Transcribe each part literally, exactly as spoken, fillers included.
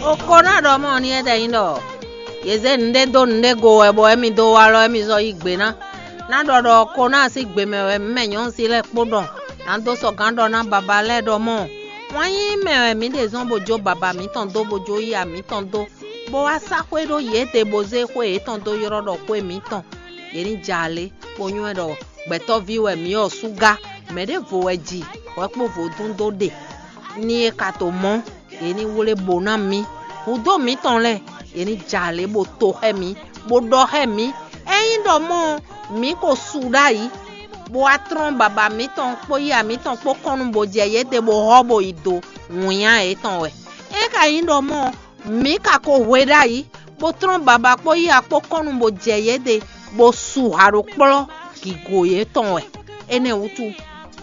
O ko ná ɖɔ mɔ ní é ɖɛ nyí ɖɔ yě zé nǔɖé dó nǔɖé go wɛ bɔ émí dó wá lɔ émí zɔ́ yí gbe ná. Ná ɖɔ ɖɔ ko ná sín gbe mɛ wɛ mɛ nyɔ̌nu sí lɛ́ɛ kpó ɖɔ ná dó sɔgán ɖɔ ná baba lɛ́ɛ ɖɔ mɔ wǎn nyí mɛ wɛ mǐ ɖe zɔ́n bó jó baba mǐtɔn dó bó jó yí amǐtɔn dó, bó wá sá xwé ɖó yěɖée bó zé xwé yětɔn dó ylɔ́ ɖɔ xwé mǐtɔn. Yě ní ja alě, bó nywɛ́ ɖɔ gbɛtɔ́ví wɛ mǐ ɔ́ súgá, mɛ̌ ɖěvo wɛ ji hwɛ kpó vodún dó ɖe. Ní é ka to mɔ̌, yě ní wlé bo ná mǐ. Hudó mǐtɔn lɛ́ɛ, yě ní ja alě bó to xɛ mǐ, bó ɖɔ xɛ mǐ. Ényí ɖɔ mɔ̌ ɔ́, mǐ ko su ɖ'ayǐ, bó wá tlɔ́n baba mǐtɔn kpó yíyá mǐtɔn kpó kɔn nú bó jɛ yěɖée bó hɔ́ bó yi do wǐnnya yětɔn wɛ. É ka nyí ɖɔ mɔ̌ ɔ́, mǐ ka ko hwe ɖ'ayǐ, bó tlɔ́n baba kpó yíyá kpó kɔn nú bó jɛ yěɖée, bó su haɖokplɔ́ gǐgo yětɔn wɛ. Énɛ́ wútu,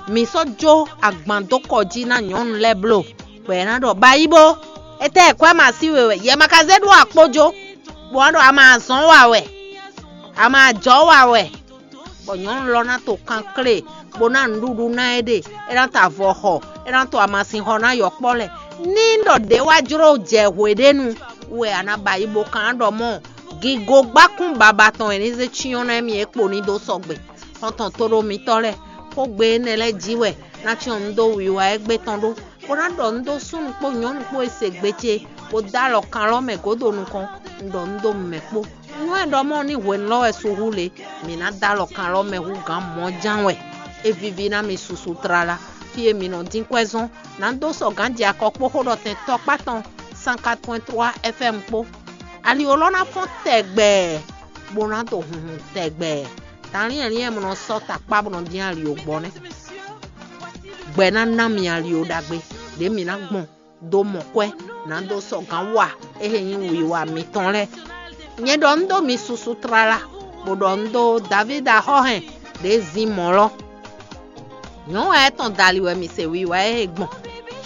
mǐ sɔ́ jó agban dó kɔ jí ná nyɔ̌nu lɛ́ɛ bló, bɔ è nǎ ɖɔ bayíbó, etɛ́ kwɛ́ ma sí we wɛ, yɛ ma ka zé ɖó akpó jó, bó wá ɖɔ a ma zɔ̌n wa wɛ, a ma jɔ̌ wa wɛ, bɔ nyɔ̌nu lɔ ná to kanklé, bó ná nǔɖuɖu ná ɛ ɖe, é ná to avɔ xɔ, é ná to amasin xɔ ná yɔkpɔ́ lɛ́ɛ. Ní ɖɔ ɖě wá jló jɛ hweɖénu wɛ a nǎ ba yi bó kan ɖɔ mɔ̌, gigogbákún baba tɔn e ní zé cyɔ́n ná émí é kpo ní dó sɔgbe. Xɔ́ntɔn tóɖó mitɔ́ lɛ́ɛ, xógbe énɛ́ lɛ́ɛ jí wɛ ná cyɔ́n nǔ dó wiwa égbé tɔn ɖó, bó ná ɖɔ nǔ dó súnnu kpó nyɔ̌nu kpó e se gbe ce, bó dó alɔ kan lɔ́ mɛ gǒdo nukɔn, un ɖɔ nǔ dó mɛ kpó. Nú é ɖɔ mɔ̌ ní hwenu lɔ́ wɛ su hú le, mǐ ná dó alɔ kan lɔ́ mɛ hú gǎn mɔ̌ ján wɛ. É víví ná mi susu tlala, fí e mǐ nɔ dín kwɛ́ zɔ́n, nǎ dó sɔ gǎn jɛ akɔ kpó xó ɖɔ tɛn tɔkpá tɔn cent quatre point trois F M kpó. Ali ó lɔ́ ná fɔ́n tɛgbɛ, bó ná to hunhun tɛgbɛ. Danlín ɛnlín e mɔ nɔ sɔ́ takpá bó nɔ dín ali ó gbɔ nɛ́. Gbɛ ná ná mi ali ó ɖagbe, ɖě mǐ ná gbɔn dó mɔ kwɛ́, nǎ dó sɔgǎn wa é he nyí wiwa mitɔn lɛ́ɛ. Nyɛ ɖɔ un ɖó mi susu tlala, bó ɖɔ un ɖó Davídi axɔ́hɛn ɖě zín mɔ̌ lɔ. Nyɔ̌nu wɛ é tɔn dali wɛ mi se wiwa e é gbɔn.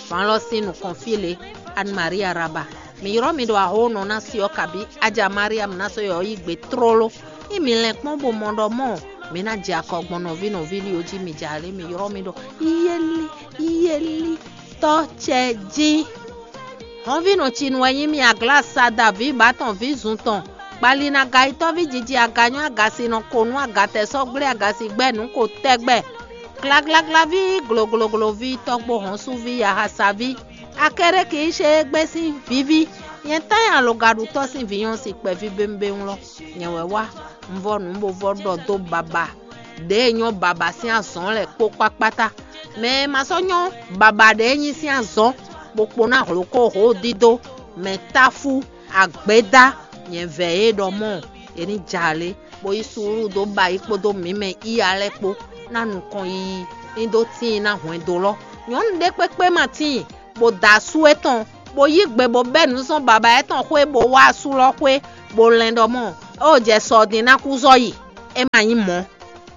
Van lɔ sín nukɔn fí lě, Anne Marie Araba. Mi ylɔ́ mi ɖo axónɔ ná si ɔ́ kabí Aja Mariam ná sɔ́ yɔ yí gbe tlóló. Ní mi lɛn kpɔ́n bó mɔ ɖɔ mɔ̌, mi ná jɛ akɔ gbɔn nɔví nɔví lí ó jí mi jɛ alě mi ylɔ́ mi ɖɔ yéli yéli tɔ́ cɛ jí. Hɔnvínɔ cinu wɛ nyí mi aglasa Daví bǎtɔn ví zun tɔn, kpalinaga yitɔ́ví jiji aganyɔ́ agasinɔ konú agatɛsɔ́gblé agasigbɛ́ nǔ ko tɛgbɛ. Glaglaglaví gloglogloví tɔgbo hɔnsúví yahasaví, Akɛ́ɖɛ́ki yi ṣe égbé sín víví, nyɛ tán nyi alɔgaɖutɔ́ sín vǐ nyɔ́ sin kpɛví béwúnbéwún lɔ. Nyɛ wɛ wá, un vɔ nǔ bó vɔ ɖɔ dó baba ɖě e nyɔ́ baba sín azɔ̌ lɛ́ɛ kpó kpákpátá. Mɛ e ma sɔ́ nyɔ́ baba ɖě e nyí sín azɔ̌, bó kpo ná hlǒkó hǒ dídó, mɛ táfú, agbědá, nyɛ vɛ yě ɖɔ mɔ̌, yě ní jɛ alě, bó yí suúlu dó ba yí kpódó mǐ mɛ iya lɛ́ɛ kpó, ná nukɔn yiyi ní dó tíin ná hwɛndo lɔ. Nyɔ̌nu ɖé kpékpé ma tíin, bó da asú étɔn, bó yí gbe bó bɛ́ nǔ zɔn baba étɔn xwé bó wá asú lɔ xwé, bó lɛn ɖɔ mɔ̌, é o jɛ sɔ din ná kú zɔ́ yi. É ma nyí mɔ̌.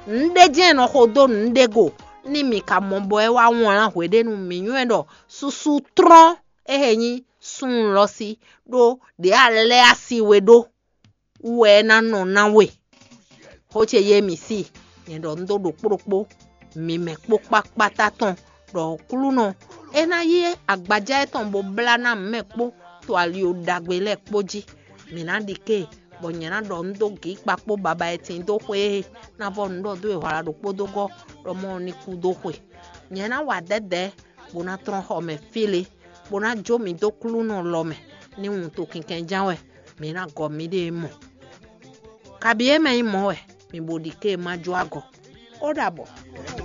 Nǔɖé jɛ́n è nɔ xo dó nǔɖé go, ní mǐ ka mɔ bɔ é wá wlán hweɖénu mǐ nywɛ́ ɖɔ susu tlɔ́n é he nyí súnnu lɔ sí, ɖó ɖě a lɛ́ asi we ɖó wú wɛ é ná nɔ ná we. Xó ce yé mǐ sí, nyɛ ɖɔ un ɖó ɖokpó ɖokpó, mi mɛ kpó kpákpátá tɔn, ɖɔ Aklúnɔ é ná yí agbaja étɔn bó blá ná mɛ kpó to ali ɖagbe lɛ́ɛ kpó jí. Mǐ ná ɖi ké, bɔ nyɛ ná ɖɔ un dó gǐ kpakpó baba e tin dó xwe e ná vɔ nǔ ɖɔ dó e hwala ɖokpó dó gɔ́ ɖɔ mɔ ní kú dó xwe. Nyɛ ná wa dɛ̌dɛ̌, bó ná tlɔ́n xɔ mɛ fí lě, bó ná jó mǐ dó Klúnɔ lɔ mɛ, ní wuntun kinkɛn ján wɛ mǐ ná gɔ mǐɖée mɔ. Kabi é mɛ nyí mɔ̌ wɛ, mi bo ɖi ké ma jó agɔ. Ó ɖabɔ.